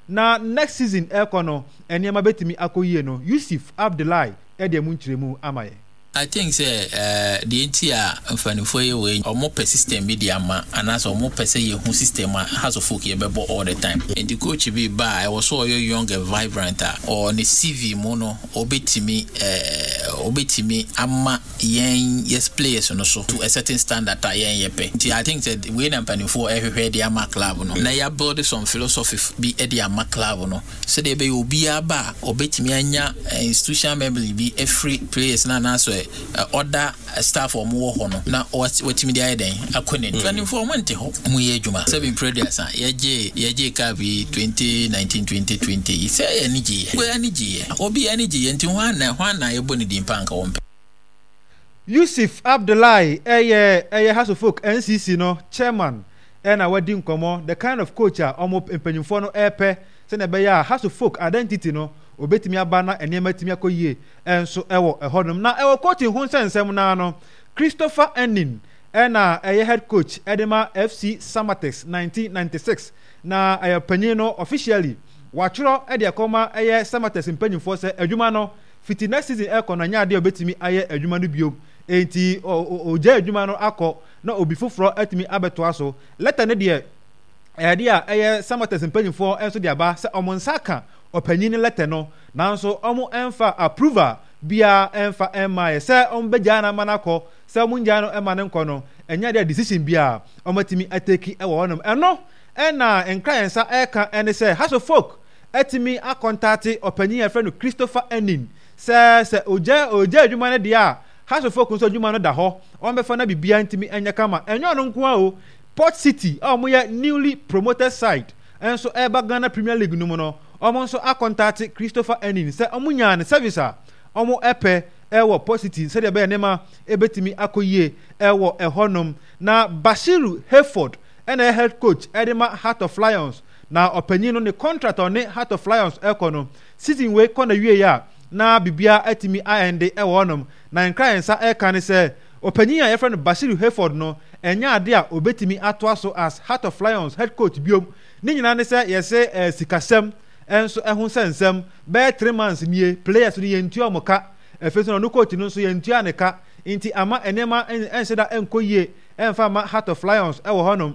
na next season ɛrekɔ no nneɛma bɛtumi akɔ yie no, Yusuf Abdulai de ɛmu nkyerɛmu ama yɛn. I think sɛ eh, deɛ nti a mfaninfoɔ yɛ wei, ɔmo pɛ system bi de ama anaasɛ ɔmo pɛ sɛ yɛhu system a Hearts of Oak yɛbɛbɔ all the time. Nti coach bi ba a, ɛwɔ sɛ ɔyɛ young and vibrant a, ɔ ne CV mu no ɔbɛtumi eh, ɔbɛtumi ama yɛn yɛ players no so to a certain standard a yɛn yɛpɛ. Nti I think sɛ wei na mpanimfoɔ ɛhwehwɛ de ama club no. Na yɛ build some philosophy bi de ama club no sɛdeɛ ɛbɛyɛ obiara ba a ɔbɛtumi anya institutional memory bi afiri players no anaasɛ other staff a wɔwɔ hɔ no na watumi de ayɛ dɛn akɔ n'anim. Mpanimfoɔ wɔn nte hɔ, wɔn yɛ adwuma. Sɛbi mprɛ aduasa yɛgye yɛgye cup yi 2019 2020 yi sɛ yɛ ani gye yɛ. Obi ani gye yɛ. Obi ani gye yɛ nti hwan na hwan na yɛbɔ ne din pa anka wɔmpɛ. Yusuf Abdullahi yɛ ɛyɛ Hearts of Oak NCC no chairman na wadi nkɔmmɔ the kind of coach a wɔn mpanyinfoɔ no repɛ sɛnea ɛbɛyɛ a Hearts of Oak identity no obetumi aba na nneɛma atumi akɔ yie nso wɔ ɛhɔnom. Na ɛwɔ coaching ho nsɛnsɛm no ara no, Christopher Ennin na ɛyɛ head coach de ma FC Samatex 1996 na ɛyɛ panyin no officially watwerɛ de akɔma ɛyɛ Samatex mpanyinfoɔ sɛ adwuma no fiti next season ɛkɔ no ɛnyɛ adeɛ a obetumi ayɛ adwuma no biom enti ɔgyae adwuma no akɔ na obi foforɔ atumi abɛtoa so. Lɛtɛ no deɛ ɛyɛ adeɛ a ɛyɛ Samatex mpanyinfoɔ nso de aba sɛ wɔn nsa aka ɔpanyin no lɛtɛ no nanso wɔn mfa approval biara mfa mmaeɛ sɛ wɔn bɛgyae no ama no akɔ sɛ wɔn ngyae no mma no nkɔ no ɛnyɛ adeɛ a decision biara wɔn atumi ateki wɔ hɔnom. Ɛno na nkra yɛn nsa ɛreka ɛne sɛ Hearts of Folk atumi akɔntate ɔpanyin a yɛfrɛ no Christopher Ennin sɛ sɛ ogya ogya adwuma no deɛ a Hearts of Oak nso adwuma no da hɔ wɔbɛfa na biribiara ntumi nyɛ kama. Ɛnyɛ ɔno nko ara o, Port City a wɔyɛ newly promoted side nso ɛreba Ghana Premier League no mu no, wɔn nso akɔntate Christopher Ennin sɛ wɔnyaa ne service a wɔpɛ wɔ Port City sɛdeɛ ɛbɛyɛ nneɛma bɛtumi akɔ yie wɔ ɛhɔnom. Na Bashiru Hayford na ɛyɛ head coach de ma Heart of Lions. Na ɔpanyin no ne contract a ɔne Heart of Lions rekɔ no, season wei kɔ n'awieɛ a, na biribiara atumi aɛnde wɔ hɔnom. Na nkra a yɛn nsa reka ne sɛ, ɔpanyin a yɛfrɛ no Bashiru Hayford no, ɛnyɛ ade a obetumi atoa so as Heart of Lions head coach biom. Ne nyinaa ne sɛ yɛse eh, sikasɛm nso ɛho nsɛnsɛm, bɛyɛ 3 months nie, players no yɛntua wɔn ka, afei nso na ɔno coach no nso yɛntua ne ka, nti ama nneɛma nhyɛ da nkɔ yie ɛmfa mma Heart of Lions wɔ hɔnom.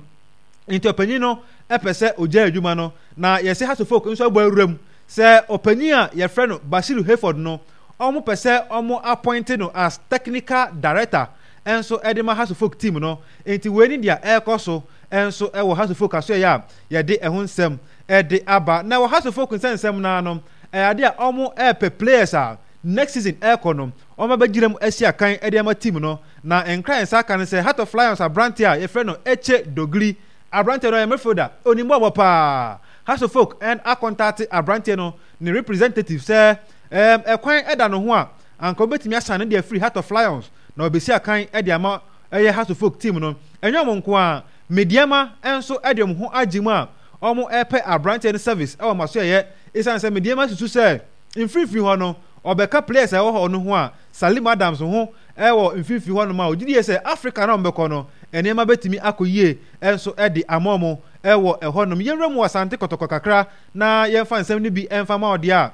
Nti ɔpanyin no pɛ sɛ ogyae adwuma no, na yɛse Hearts of Oak nso abɔ awura mu sɛ ɔpanyin a yɛfrɛ no Bashiru Hayford no, wɔpɛ sɛ wɔn appoint no as technical director nso de ma Hearts of Oak team no. Nti wei ne deɛ ɛrekɔ so nso wɔ Hearts of Oak asoɛeɛ a yɛde ɛho nsɛm de aba. Na wɔ Hearts of Oak nsɛnsɛm no ara no, ɛyɛ adeɛ a wɔrepɛ players a next season ɛrekɔ no, wɔabɛgyina mu asi akan de ama team no. Na nkra a yɛn nsa aka ne sɛ Heart of Lions aberanteɛ a yɛfrɛ no Eche Dogli, aberanteɛ no ɔyɛ midfielder, ɔnim bɔɔlbɔ paa. Hearts of Oak akɔntate aberanteɛ no ne representative sɛ ɛkwan da ne ho a anka wɔbɛtumi asan no de afiri Heart of Lions na wɔabɛsi akan de ama ɛyɛ Hearts of Oak team no. Ɛnyɛ wɔn nko ara, Medeama nso de wɔn ho agye mu a wɔrepɛ aberanteɛ no service wɔ Masoɛeɛ ɛsiane sɛ Medeama susu sɛ mfimfini hɔ no ɔbɛka players a ɛwɔ hɔ no ho a Salim Adams ho wɔ mfimfini hɔnom a ɔgye die sɛ Africa no a wɔbɛkɔ no nneɛma bɛtumi akɔ yie nso de ama wɔn wɔ ɛhɔnom. Yɛnwura mu wɔ Asante Kɔtɔkɔ kakra na yɛmfa nsɛm no bi mfa ma wo deɛ a,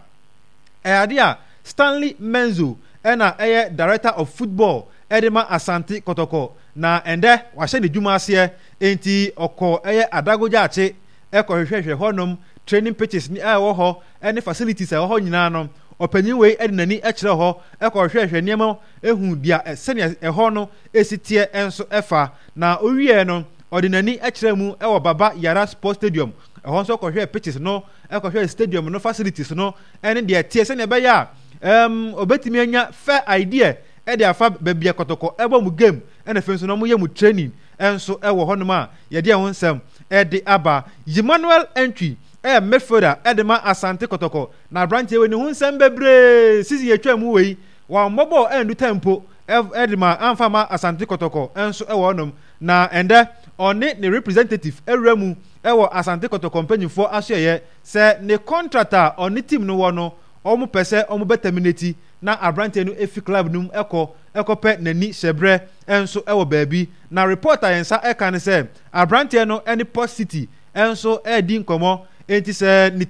ɛyɛ adeɛ a Stanley Menzo na ɛyɛ Director of Football de ma Asante Kɔtɔkɔ na ɛndɛ wahyɛ ne dwuma aseɛ enti ɔkɔ ɛyɛ Adago Gyaakye kɔhwehwɛhwɛ hɔnom training pitches a ɛwɔ hɔ ne facilities a ɛwɔ hɔ nyinaa no. Ɔpanyin wei de n'ani kyerɛɛ hɔ kɔhwehwɛhwɛ nneɛma hu deɛ sɛnea ɛhɔ no si teɛ nso fa. Na ɔwieɛ no, ɔde n'ani kyerɛɛ mu wɔ Baba Yara Sports Stadium. Ɛhɔ nso ɔkɔhwɛɛ pitches no, kɔhwɛɛ stadium no facilities no ne deɛ ɛteɛ sɛnea ɛbɛyɛ a um, ɔbɛtumi anya fair idea de afa baabi a Kɔtɔkɔ ɛbɔ mu game ɛna afei nso na wɔyɛ mu training nso wɔ hɔnom a yɛde ɛho nsɛm de aba. Emmanuel Antwi ɛyɛ midfielder de ma Asante Kɔtɔkɔ. Na aberanteɛ wei ne ho nsɛm bebree season yɛtwa mu wei wammɔ bɔɔl andu time mpo de ma amfa ma Asante Kɔtɔkɔ nso wɔ hɔnom. Na ɛndɛ ɔne ne representative awura mu wɔ Asante Kɔtɔkɔ mpanyinfoɔ asoɛeɛ sɛ ne contract a ɔne team no wɔ no wɔn pɛ sɛ wɔn bɛ terminate na aberanteɛ no fi club no mu kɔ kɔpɛ n'ani hyɛbrɛ nso wɔ baabi. Na report a yɛn nsa ka ne sɛ aberanteɛ no ne Port City nso redi nkɔmmɔ enti sɛ ne.